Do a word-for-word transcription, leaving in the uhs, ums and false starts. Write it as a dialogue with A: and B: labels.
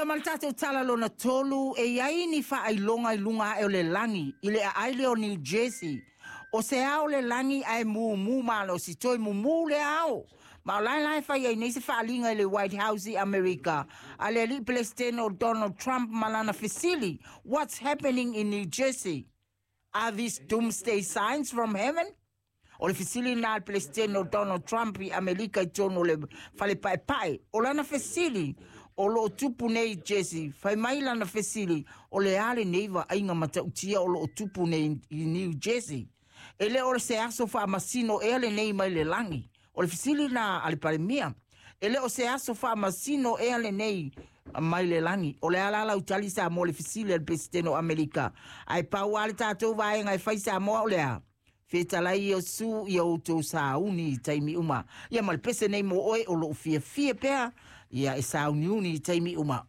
A: Ia ma le tatou tala lona tolu, e i ai ni faailoga i luga ae o le lagi i le aai lea o New Jersey. O se ao le lagi ae mumu malosi, toe mumu le ao. Ma o lae lae fai ai nei se faaliga i le White House i Amerika a le alii Peresetene o Donald Trump ma lana fesili, "What's happening in New Jersey? Are these doomsday signs from heaven?" O le fesili na le Peresetene o Donald Trump i Amerika i totonu o le fale paepae. O lana fesili, o loo tupu nei Jersey, fai mai lana fesili, o le a lenei vaaiga matautia o loo tupu nei i New Jersey? E le o se aso faamasino ea lenei mai le lagi? O le fesili na a le Palemia. E le o se aso faamasino ea lenei mai le lagi? O le ala lau tali Samoa le fesili a le Peresetene o Amerika. Ae pau lava le tatou vaega e fai Samoa o le a? Fetalai Iesu ia outou sauni i taimi uma. Ia ma le pese nei mo oe o loo fiafia pea, ia e sauniuni i taimi uma.